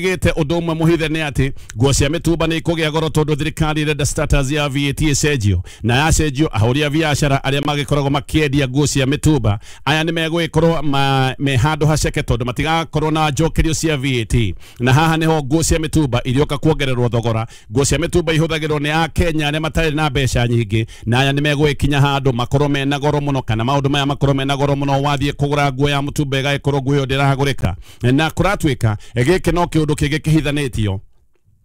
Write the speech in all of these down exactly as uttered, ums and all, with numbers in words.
Gite undu umwe muhithe ni ati nguo cia mitumba ni ikugia goro tondu thirikari irenda status ya V A T icenjio na yacenjio ahuri a biacara aria magikoragwo makiendia nguo cia mitumba aya ni megwikorwo me handu haceke tondu matigakorwo na njokerio cia V A T na haha niho nguo cia mitumba irioka kuongererwo thogora. Nguo cia mitumba ihuthagirwo ni Akenya aria matari na mbeca nyingi na aya ni megwikinya handu makorwo mena goro muno kana maundu maya makorwo mena goro muno wathie kugura nguo ya mutumba igagikorwo nguo iyo ndiragurika na kuratuika giki no kiundu kingi kihithanitio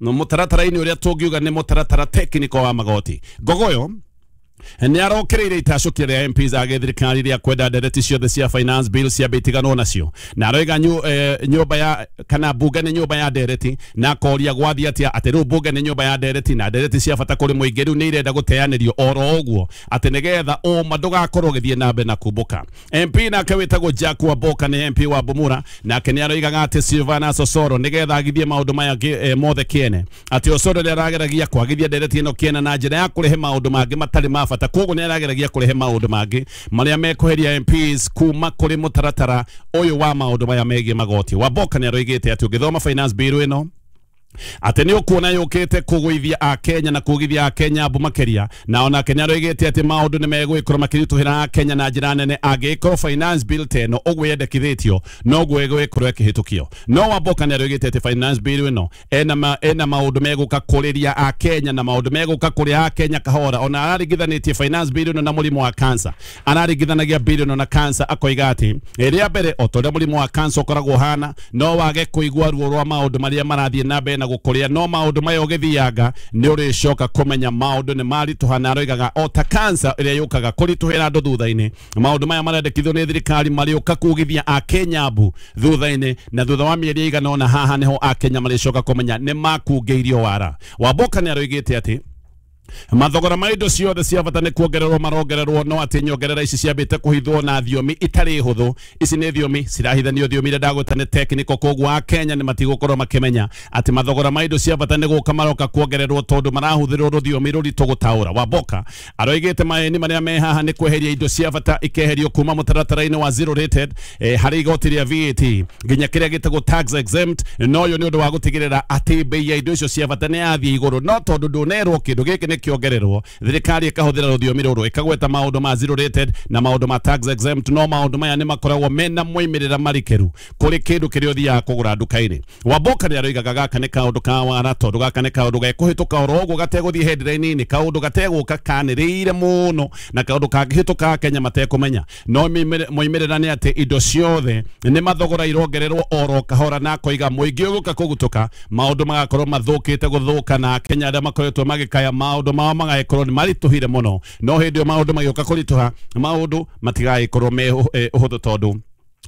no mutaratara-ini uria tungiuga ni mutaratara technical wa magoti. Ngogoyo ni arokereire itacukia ria M Ps a githirikari ria kwenda ndereti ciothe cia finance bill ciambe itiganwo nacio na aroiga nyumba ya kana bunge ni nyumba ya ndereti na akoria gwathie atia ati riu bunge ni nyumba ya ndereti na ndereti cia bata kuri muingi riu ni irenda guteanirio oro uguo ati nigetha uma ndugakorwo ugithie na mbere na kumbuka. M P nake witagwo Jack Wamboka ni M P wa Bumura nake ni aroigaga ati Silvana Sosoro nigetha agithie maundu maya mothe kiene ati Osoro ni arageragia kwagithia ndereti ino kiene na njira ya kurehe maundu mangi matari ma bata koguo ni arageragia kurehe maundu mangi maria mekuheria M Ps kuma kuri mutaratara uyu wa maundu maya megie magoti. Wamboka ni aroigite ati ungithoma finance bill ino ati ni ukuona yukite kugwithia Akenya na kugithia Akenya mbu makiria na onake ni aroigite ati maundu ni megwikorwo makirituhira Akenya na njira nene angikorwo finance bill teno uguo yendekithitio noguo igwikorwo ikihitukio. No Wamboka ni aroigite ati finance bill ino ena ma, ena maundu meguka kuriria Akenya na maundu meguka kuria Akenya kahora. Ona araringithanitie finance bill ino na murimu wa cancer, araringithanagia bill ino na cancer akoiga ati ria mbere o toria murimu wa cancer ukoragwo hana no wage kuigua ruo rwa maundu maria marathie na mbere na gukuria no maundu maya ugithianga ni uricoka kumenya maundu ni marituha na aroigaga o ta cancer iria yukaga kurituhira andu thutha-ini maundu maya marendekithio ni thirikari mariuka kugithia Akenya mbu thutha-ini na thutha wa mieri igana ona haha niho Akenya maricoka kumenya ni makungeirio wara. Wamboka ni aroigite ati mathogora ma indo ciothe cia bata ni kuongererwo marongererwo no ati nyongerera ici ciambite kuhithwo na thiomi itari huthu. Ici ni thiomi cirahithanio thiomi iria ndagweta ni technical koguo Akenya ni matigukorwo makimenya ati mathogora ma indo cia bata ni guka maroka kuongererwo tondu marahuthirwo ruthiomi ruritu gutaura. Wamboka aroigite maeni maria me haha ni kweheria indo cia bata ikeherio kuma mutaratara-ini wa zero rated eh, hari igoti ria V A T nginya kiria gitagwo tax exempt no yo ni undu wa gutigirira ati bei ya indo icio cia bata ni yathie iguru no tondu ndunerwo kindu giki ni kiongererwo thirikari ikahuthira ruthiomi ruru ikagweta maundu ma zero rated na maundu ma tax exempt no maundu maya ni makoragwo mena moimirira marikeru kuri kindu kiria uthiaga kugura nduka-ini. Wamboka ni aroigaga gaka ni kaundu ka wara tondu gaka ni kaundu gekuhituka oro uguo gateguthie headline-ini kaundu gateguka kaniriire muno na kaundu kangihituka Kenya matekumenya no moimirira ni ati indo ciothe ni mathogora irongererwo oro kahora na koiga muingi uguka kugutuka maundu magakorwo mathukite guthuka na Kenya aria makoretwo magikaya maundu mao magagikorwo ni marituhire muno no hindi yo maundu magioka kurituha maundu matigagĩkorwo me uhuthu tondu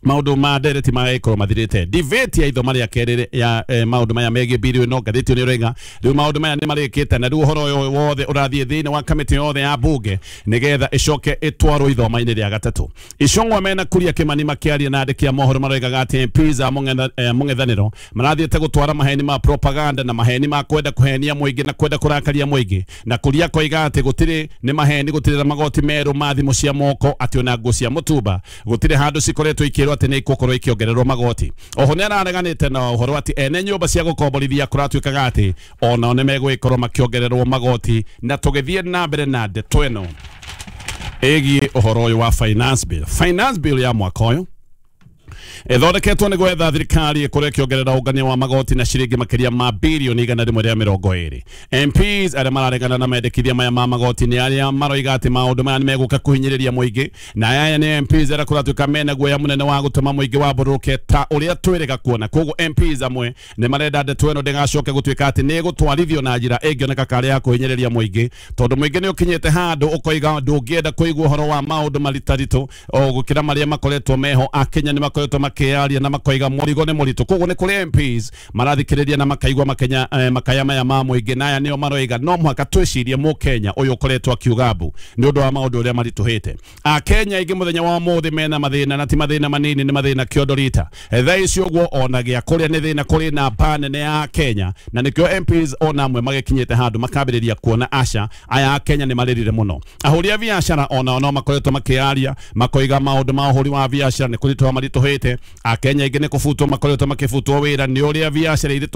maundu ma ndereti magagikorwo mathirite. Debate ya ithoma ria keri ya eh, maundu maya megie bill ino ngathĩti ni ĩroiga riu maundu maya ni marĩkĩte na riu ũhoro ũyũ wothe ũrathiĩ thĩinĩ wa kamĩtĩ yothe ya bunge nigetha ĩcoke ĩtwarwo ithoma-inĩ rĩa gatatũ. Icong'wa mena Kuria Kimani makĩaria na andĩki a mohoro maroigaga atĩ M Ps a mũng'ethanĩro marathiĩte gũtwara maheni ma propaganda na maheni ma kwenda kũhenia mũingĩ na kwenda kũrakaria mũingĩ na Kuria koiga atĩ gũtirĩ nĩ maheni gũtirĩ na magoti merũ ma thimũ cia moko atĩ ona nguo cia mũtumba gũtirĩ handũ cikoretwo ikĩrwo atĩ nĩ ikukorwo ikiongererwo magoti. Oho nĩ arareganĩte na ũhoro atĩ ene nyũmba cia gũkomborithia kũratuĩkaga atĩ onao nĩ megũgĩkorwo makĩongererwo magoti. Na tũgĩthiĩ na mbere na ndeto ĩno ĩgiĩ ũhoro ũyũ wa finance bill. Finance bill ya mwaka ũyũ ithondeketwo nĩ gwetha thirikari ĩkorwo ĩkĩongerera ũngania wa magoti na ciringi makĩria ma birioni igana rĩmwe rĩa mĩrongo ĩrĩ. M Ps arĩa mararegana na mendekithia maya ma magoti nĩ arĩa maroiga atĩ maũndũ maya nĩ megũka kũhinyĩrĩria mũingĩ na aya nĩ M Ps arĩa kũratuĩka mena guoya mũnene wa gũtũma mũingĩ wambũrũke ta ũrĩa twĩrĩga kuona. Koguo M Ps amwe nĩ marenda ndeto ĩno ndĩgacoke gũtuĩka atĩ nĩ ĩgũtwarithio na njĩra ĩngĩoneka karĩ ya kũhinyĩrĩria mũingĩ tondũ mũingĩ nĩ ũkinyĩte handũ ũkoiga ndũngĩenda kũigua ũhoro wa maũndũ maritaritũ o gũkĩra marĩa makoretwo meho. Akenya nĩ makoretwo makiaria na makoiga mũrigo nĩ mũritũ koguo nĩ kũrĩ M Ps marathikĩrĩria na makaigua makenya eh, makaya maya ma mũingĩ na aya nĩo maroiga no mũhaka twĩcirie mũkenya ũyũ ũkoretwo akiuga mbu nĩ ũndũ wa maũndũ ũrĩa maritũhĩte. Akenya aingĩ mũthenya wa ũmũthĩ mena mathĩna na ti mathĩna manini nĩ mathĩna kĩondo rita thaa ici ũguo ona gĩa kũrĩa nĩ thĩna kũrĩ namba nene ya Kenya na nĩkĩo M Ps ona amwe magĩkinyĩte handũ makambĩrĩria kuona aca aya Akenya nĩ marĩrire mũno. Ahũri a biacara onao no makoretwo makĩaria makoiga maũndũ ma ũhũri wa biacara nĩ kũritũha maritũhĩte. Akenya aingĩ nĩ kũbutwo makoretwo makĩbutwo wĩra nĩ ũrĩa biacara irĩtũhĩte.